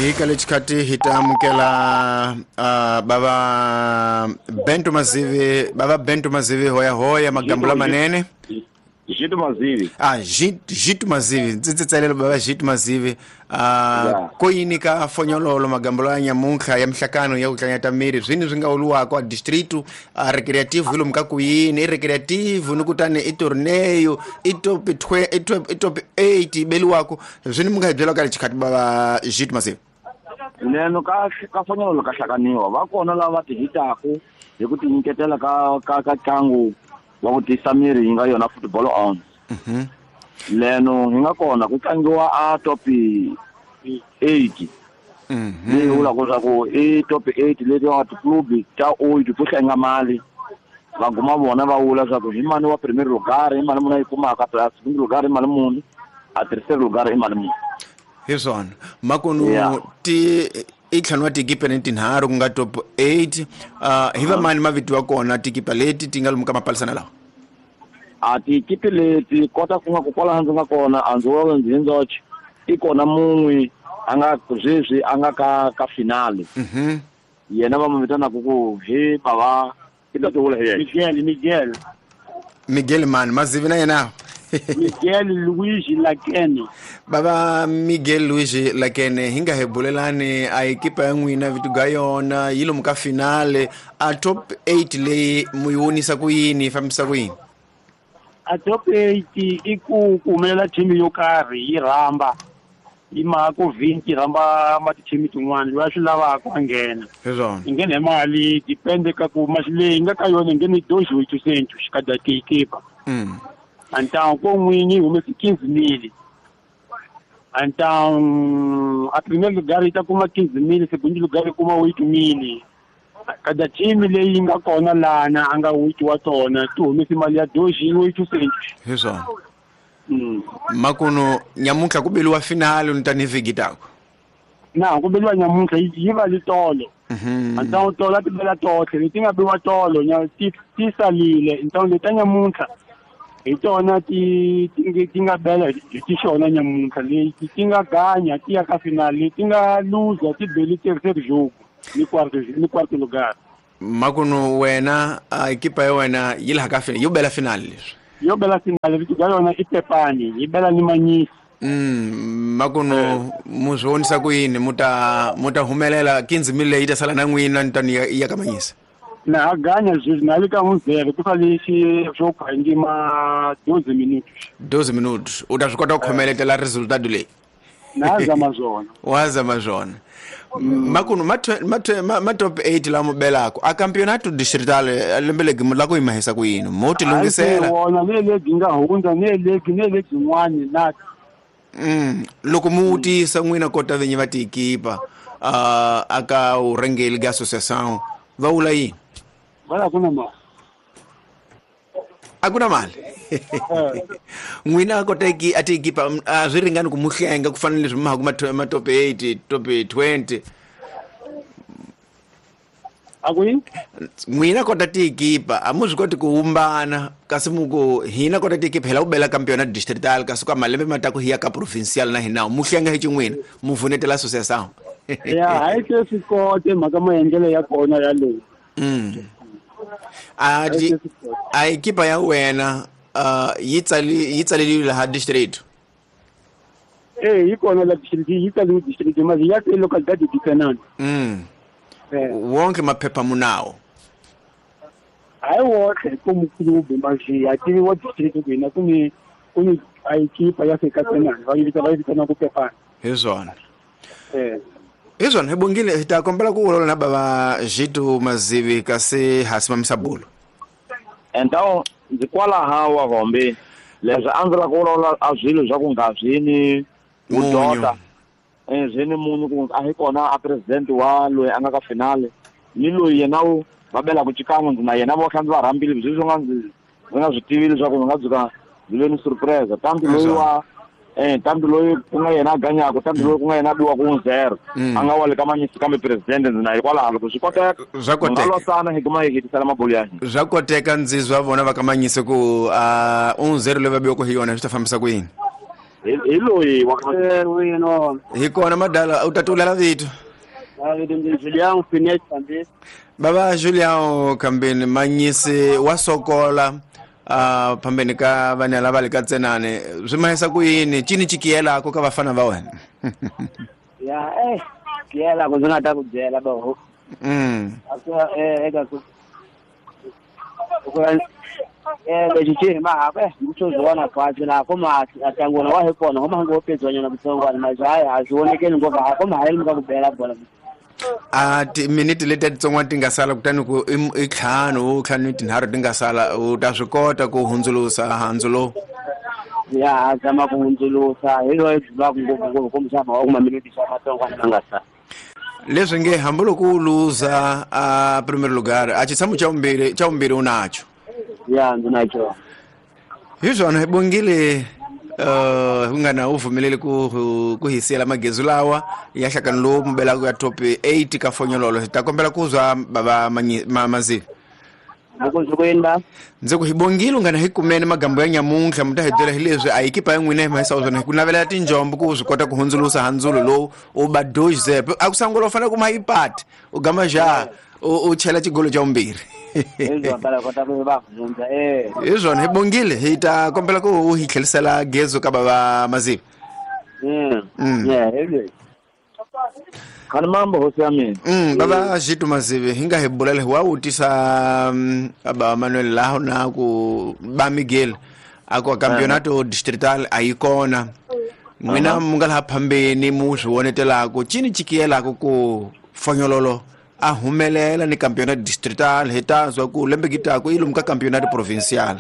Hi ka lexikhathi hi ta amukela bava Bento Mazivi, bava Bento Mazivi hoya hoya magambula manene. Jito Mazivi. Jito Mazivi, ndzi tsalela bava Jito Mazivi. Ko yini ka fonyololo magambulo ya nyamuntlha ya mihlakano ya ku tlanyata miri swini swi nga uluwako a distrito a recreativo hi lomu ka ku yini i recreativo ni kutani i torneo i top 20 i top 8 yi beliwako swini mi nga hi byela ka lexikhathi bava Jito Mazivi? Neno ka fonyololo ka hlakaniwa va kona lava ti hitaku hi ku tinyiketela ka ntlangu wa ku tiyisa miri yi nga yona football on. Leno hi nga kona ku tlangiwa a top 8. Leyi vulaka leswaku i top 8 leti va tiklubi ta 8 to hlenga mali. Va guma vona va vula leswaku hi mani wa premier lugar, hi mali muni yi kumaka, plus second lugar hi mali muni, a terceiro lugar hi mali muni. Hi swona. Makunu ti i ntlhanu wa tikipa ni tinharhu ku nga top 8. Hi va mani mavito ya kona tikipa leti ti nga lomu ka mapalisana lawa? A tikipi leti kota ku nga ku kwala ndzi nga kona a ndzi vona ndzi ndzoxe i kona mun'we a nga sweswi a nga ka finale. Yena va mu vitanaka ku hi bava i ta tivula hi yena. Miguel mani Mazivi na yena. Miguel Luigi Lakene. Baba Miguel Luigi Lakene hi nga hi bulelani a ekipa ya n'wina vito ga yona yi lomu ka finale a top 8 leyi mu yi vonisa ku yini yi fambisa ku yini? A top 8 i ku humelela team yo karhi yi rhamba yi maka ku 20 rhamba ma ti-team tin'wana loyi a swi lavaka a nghena. Hi yi nghena hi mali depende ka ku masi leyi nga ka yona yi nghene 18 xikada tikipa. Então ko n'winyi humesi 15,000. Então a primeiro lugar yi ta kuma 15,000, segundo lugar yi kuma 8,000. Kada team leyi nga kona lana a nga 8 wa tona ti humesi mali ya 18. Hi swona. Makuno nyamuntlha ku beliwa finale ni tani vhiki tako. Na ku beliwa nyamuntlha yi va li tolo. Então tolo ti bela tohle leti nga biwa tolo ti salile. Então leta nyamuntlha hi tona ti nga bela hi ti xona nyamuntlha leti ti nga ganya ti ya ka finale leti nga luza ti beli terceiro jogo ni quarto lugar. Makuno wena ekipa ya wena yi laha ka finale yo bela finale leswi. Yo bela finale vito ga yona i Pepani yi bela ni Manyisi. Makuno mu swi vonisa ku yini mu ta humelela 15,000 leyi ta sala na n'wina ni tani ya ka Manyisi? Na ganya sweswi na le ka 1-0 ku sale xo khangi ma 12 minutos. 12 minutos u ta swi kota ku khomeletela resultado leyi? Na zama swona. Wa zama swona. Makuno ma top 8 lama belako a campeonato distrital lembe legi la ku yimahisa ku yini mo ti lunghisela wona ne legi nga hundza ne legi yin'wani na loko mu vutisa n'wina kota vinyi va tikipa aka urhengeli ga associação va vula yini? Va ku na mali. A ku na mali. N'wina kota a tikipa a swi ringani ku mu hlenga ku fana na leswi ma ha ku ma top 8 top 20. A ku yini? N'wina kota tikipa a mu swi koti ku humbana kasi mu ku hina kota tikipa hi lava ku bela campeonato distrital kasi ka malembe ma ta ku hi ya ka provincial na hina mu hlenga hi xin'wina mu vunetela associação. Ya hayi se swi kote mhaka maendlelo ya kona ya leyi. A ekipa ya wena yi tsaleliwe laha district? Yi kona la district, yi tsaliwe district mali ya localidade de Fernando. Wonke maphepha munawo? Hayi wonke ku mukulubi mali ya tiviwa district ku hina ku ni a ekipa ya fika Fernando va yi vitana ku Pepani. Hi swona. Hi swona hi bongile hi ta kombela ku vulavula na bava Jito Mazivi kasi ha simamisa bulo. Então ndzi kwalaha wa Hombe leswi a ndzi lava ku vulavula a swilo swa ku nga swi ni vudota swi ni munhu ku a hi kona a president wa loyi a nga ka finale ni loyi yena wu va belaka xikan'we ndzi na yena vo kha ndzi va rhambile sweswi nga ndzi nga swi tivi leswaku ndzi nga dzuka ndzi ve ni surprise tanti loyi wa tanti loyi ku nga yena a ganyaka tanti loyi ku nga yena a biwaka 1-0 a nga wa le ka Manyisi kambe president ndzi na hikwalaho loko swi koteka swa koteka losana hi kuma hi hetisela mabolo ya hina swa koteka ndzi zwa vona va ka Manyisi ku 1-0 leyi va biwaka hi yona swi ta fambisa ku yini? Hi loyi wa wino. Hi kona madala u tatulela vito. Julian Phineas Kambeni. Baba Julian Kambeni manyisi wa sokola phambeni ka vana lava le ka tsenane swi mahisa ku yini cini chikiyelako ka vafana va wena? Ya kiyela ku ndzi nga ta ku byela baho. Eka ku lexi xi hi mahaka swo kwatsi laha ko ma tlangona wa hi kona ko ma ngo pedziwanyana kutsongwana mas hayi a swi vonekeli ngopfu a ko ma hayeli ka ku bela bola. A timiniti leti titsongwana ti nga sala kutani ku i ntlhanu ntlhanu tinharhu ti nga sala u ta swi kota ku hundzulusa handzu lowu? Ya zama ku hundzulusa hi loyi byi ngopfu ngopfu kumbexana wa kuma miniti swa matsongwana ma nga sala. Leswi nge hambiloko u luza a primeiro lugar a xitshamo xa vumbirhi u nacho. Ya ndzi na xona. Hi swona hi bongile ku nga na u pfumeleli ku hi siyela magezu lawa ya nhlakano lowu mubelaka ya top 8 ka fonyololo. Hi ta kombela ku zwa baba Mazivi. Ndzi ku hi bongile u nga na hi kumene magambo ya nyamuntlha mi ta hi byela hi leswi a ekipa ya n'wina hi mahisa swona hi ku navelela tinjombo ku swi kota ku hundzulusa handzulo lowu u ba 2-0 a ku sangula u fanele ku ma yipati u gama ja u chela xigolo xa vumbirhi. Hi swona hi bongile hi ta kombela ku u hi tlhelisela gezo ka baba Mazivi. Khani mambo hosi ya mina. Baba Jitu Mazivi hi nga hi bulela hi wa vutisa baba Manuel laho na ku ba Miguel a ku campeonato distrital a yi kona n'wina mu nga laha phambeni mu swi vonetelaka cini chikiyelaka ku fonyololo a humelela ni campeonato distrital hi ta zwa ku lembe gitaku i lomu ka campeonato provincial.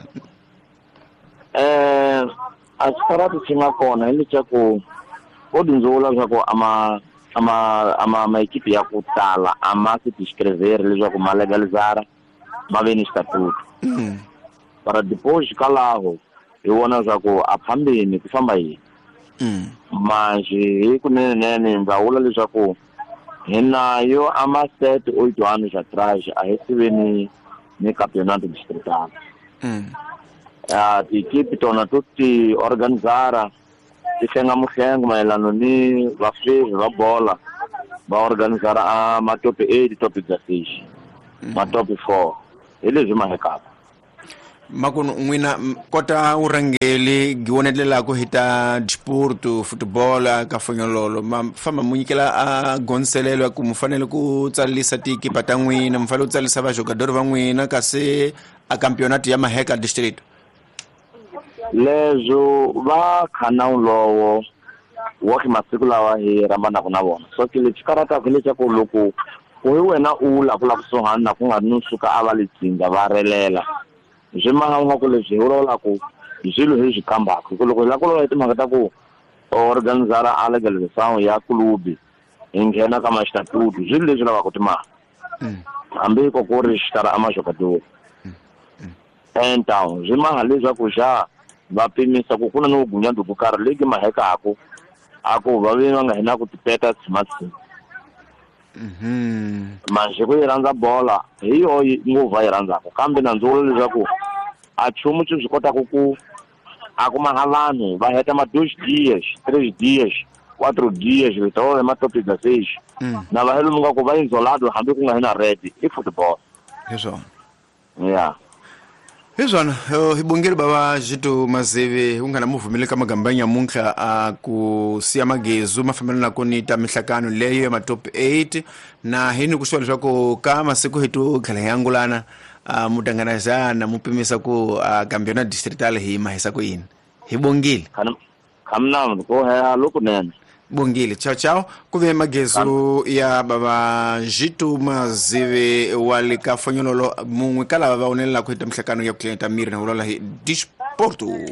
A xikarati xi nga kona hi leswaku vo dyondzula leswaku ama maekipi ya ku tala a ma se tiscreveri leswaku ma legalizara ma ve ni xitatuto. Para depois kalaho hi vona leswaku a phambeni ku famba yini. Manjhe hi kunenenene ndza vula leswaku hi nayo a ma 7 8 anos atrás a hi tive ni campeonato distrital. Tiekipi tona to ti organizara ti hlenga muhlengo mayelana ni vafevi va bola va organizara a ma top 8 top 16 ma top 4 hi leswi mahekaka. Makunu n'wina kota urhangeli giwonetelelaka hi ta disporto football ka fonyololo ma famba mu nyikela a gonselelo ya ku mu fanele ku tsarisa tiekipa ta n'wina mu fanele ku tsarisa vajogadori va n'wina kasi a campeonato ya maheka distrito. Leswo va khana lowo wa ki masiku lawa hi rambanaka na vona so ke lexi karataka leswaku loko ku hi wena u la ku la kusuhani na ku nga ri no suka a va le tsinga va relela swi mahanga ku leswi hi vulavulaka hi swilo hi swi kambaka hi ku loko hi lava ku vulavula hi timhaka ta ku organizara a legalization ya kulubi hi nghena ka maxitatutu swilo leswi lavaka timali hambi ko ku ri xitara a majogadori então swi maha leswaku xa va pimisa ku ku na ni vugunyandu byo karhi leki mahekaku a ku va ve va nga hina ku tipeta tshimatsima. Manjhe ku yi rhandza bola hi yo ngopfu va yi rhandzaka kambe na ndzi vula leswaku a nchumu xi swi kotaka ku a kuma ha vanhu va heta ma 2 dias 3 dias 4 dias letola ma top 16 na va helo nga ku va isolado hambi ku nga hina red i football. Hi swona. Ya hi swona hi bongile baba Jitu Mazivi u nga na muvumeli ka magamba ya nyamuntlha a ku siya magezu ma fambelana ku ni ta mihlakano leyo ya ma top 8 na hi ni ku swa leswaku ka masiku hi to tlhela hi angulana mutanganazana mu pimisa ku campeonato distrital hi mahisa ku yini. Hi bongile. Khamna ko ha lokunene. Bongile. Ciao ciao. Ku ve magezu ya baba Jitu Mazivi wa le ka fonyololo mun'we ka lava va onelela ku heta mihlakano ya ku tlileta miri na vulavula hi disporto.